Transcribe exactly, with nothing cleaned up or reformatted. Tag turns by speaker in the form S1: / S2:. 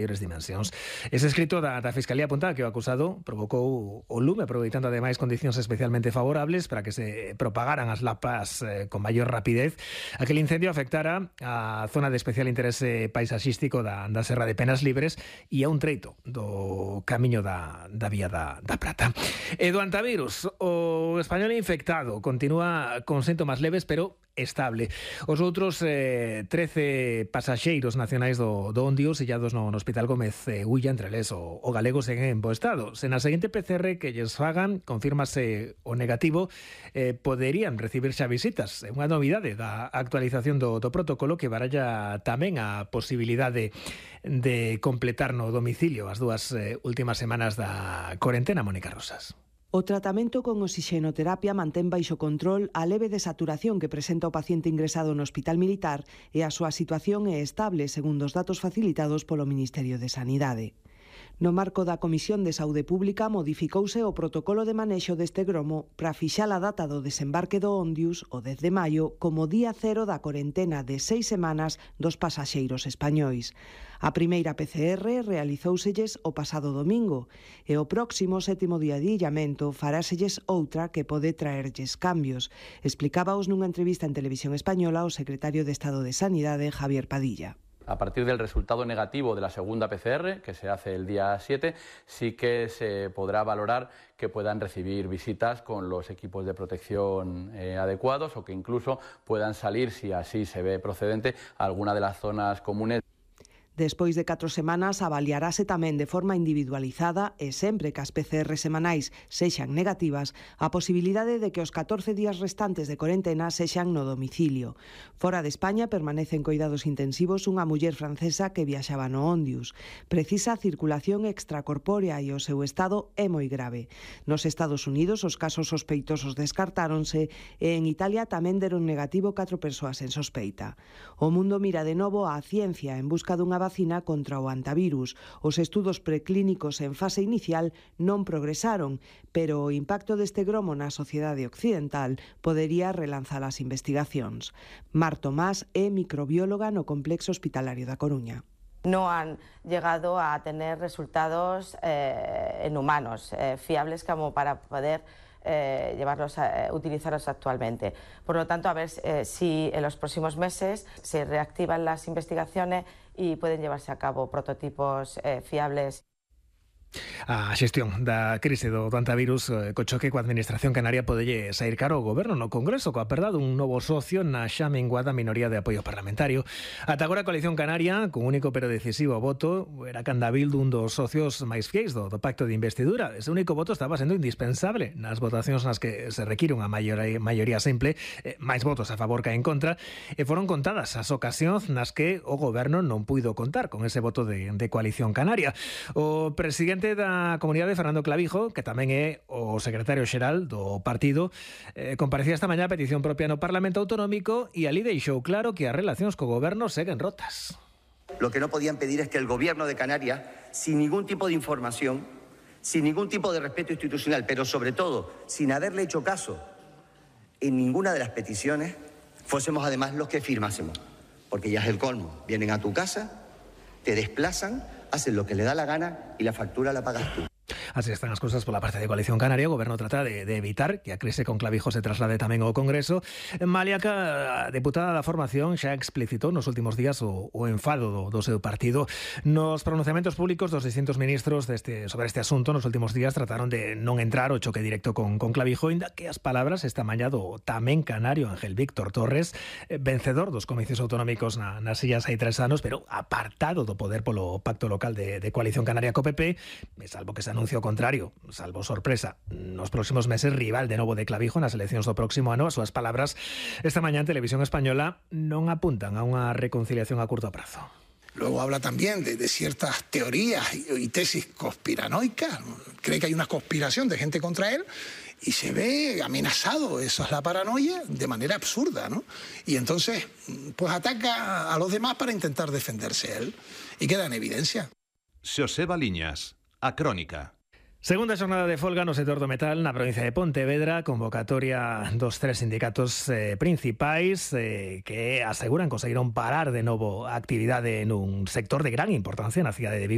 S1: maiores dimensións. Ese escrito da, da Fiscalía apunta que o acusado provocou o lume, aproveitando ademais condicións especialmente favorables para que se propagaran as lapas eh, con maior rapidez. Aquel incendio afectara a zona de especial interese paisaxístico da, da Serra de Penas Libres e a un treito do camiño da, da Vía da, da Prata. E do antivirus, o español infectado continúa con síntomas leves, pero estable. Os outros eh, trece pasaxeiros nacionais do, do Ondius illados no, no Hospital Gómez eh, Ulla, entre eles o, o galego, seguen en bo estado. Se na seguinte P C R que lles fagan confírmase o negativo, eh, poderían recibir xa visitas. É unha novidade da actualización do, do protocolo que baralla tamén a posibilidade de completar no domicilio as dúas eh, últimas semanas da corentena. Mónica Rosas.
S2: O tratamento con oxixenoterapia mantén baixo control a leve desaturación que presenta o paciente ingresado no Hospital Militar e a súa situación é estable, segundo os datos facilitados polo Ministerio de Sanidade. No marco da Comisión de Saúde Pública modificouse o protocolo de manexo deste gromo para fixar a data do desembarque do Ondius, o dez de maio, como día cero da corentena de seis semanas dos pasaxeiros españois. A primeira P C R realizóuselles o pasado domingo e o próximo sétimo día de illamento faráselles outra que pode traerlles cambios. Explicábaos nunha entrevista en Televisión Española o secretario de Estado de Sanidade, Javier Padilla.
S3: A partir del resultado negativo de la segunda P C R, que se hace el día siete, sí que se podrá valorar que puedan recibir visitas con los equipos de protección eh, adecuados o que incluso puedan salir, si así se ve procedente, a alguna de las zonas comunes.
S2: Despois de catro semanas, avaliarase tamén de forma individualizada e sempre que as P C R semanais sexan negativas, a posibilidade de que os catorce días restantes de corentena sexan no domicilio. Fora de España permanece en coidados intensivos unha muller francesa que viaxaba no Ondius. Precisa circulación extracorpórea e o seu estado é moi grave. Nos Estados Unidos os casos sospeitosos descartáronse e en Italia tamén deron negativo catro persoas en sospeita. O mundo mira de novo á ciencia en busca dunha vacina contra o antivirus. Os estudos preclínicos en fase inicial non progresaron, pero o impacto deste gromo na sociedade occidental podería relanzar as investigacións. Mar Tomás é microbióloga no Complexo Hospitalario da Coruña.
S4: No han llegado a tener resultados eh, en humanos eh, fiables como para poder Eh, llevarlos a, eh, utilizarlos actualmente. Por lo tanto, a ver eh, si en los próximos meses se reactivan las investigaciones y pueden llevarse a cabo prototipos eh, fiables.
S1: A xestión da crise do antivirus eh, co choque coa Administración Canaria podelle sair caro ao Goberno no Congreso coa perda dun novo socio na xa menguada minoría de apoio parlamentario. Ata agora a Coalición Canaria, con único pero decisivo voto, era candabil dun dos socios máis fiéis do, do pacto de investidura. Ese único voto estaba sendo indispensable nas votacións nas que se require unha maioría, maioría simple, eh, máis votos a favor que en contra, e foron contadas as ocasións nas que o Goberno non puido contar con ese voto de, de Coalición Canaria. O presidente da Comunidade, Fernando Clavijo, que tamén é o secretario xeral do partido, eh, comparecía esta mañá a petición propia no Parlamento Autonómico e ali deixou claro que as relacións co Goberno seguen rotas.
S5: Lo que no podían pedir es que el Gobierno de Canarias, sin ningún tipo de información, sin ningún tipo de respeto institucional, pero sobre todo sin haberle hecho caso en ninguna de las peticiones, fuésemos además los que firmásemos. Porque ya es el colmo. Vienen a tu casa, te desplazan, hacen lo que le da la gana y la factura la pagas tú.
S1: Así están as cousas pola parte de Coalición Canaria. O Goberno trata de, de evitar que a crise con Clavijo se traslade tamén ao Congreso. Maliaca, a deputada da formación, xa explicitou nos últimos días o, o enfado do, do seu partido. Nos pronunciamentos públicos dos distintos ministros deste, sobre este asunto nos últimos días trataron de non entrar o choque directo con, con Clavijo, inda que as palabras esta mañá do tamén canario Ángel Víctor Torres, vencedor dos comicios autonómicos na, nas illas hai tres anos, pero apartado do poder polo pacto local de, de Coalición Canaria co P P, salvo que se anuncio o contrario, salvo sorpresa, nos próximos meses rival de novo de Clavijo nas eleccións do próximo ano. As súas palabras esta mañá en Televisión Española non apuntan a unha reconciliación a curto prazo.
S6: Luego habla también de, de ciertas teorías y, y tesis conspiranoicas. Cree que hay una conspiración de gente contra él y se ve amenazado, eso es la paranoia, de manera absurda, ¿no? Y entonces, pues ataca a los demás para intentar defenderse él. Y queda en evidencia.
S7: Xoseba Liñas, A Crónica.
S1: Segunda xornada de folga no sector do metal na provincia de Pontevedra, convocatoria dos tres sindicatos eh, principais eh, que aseguran conseguiron parar de novo a actividade nun sector de gran importancia na cidade de Vigo.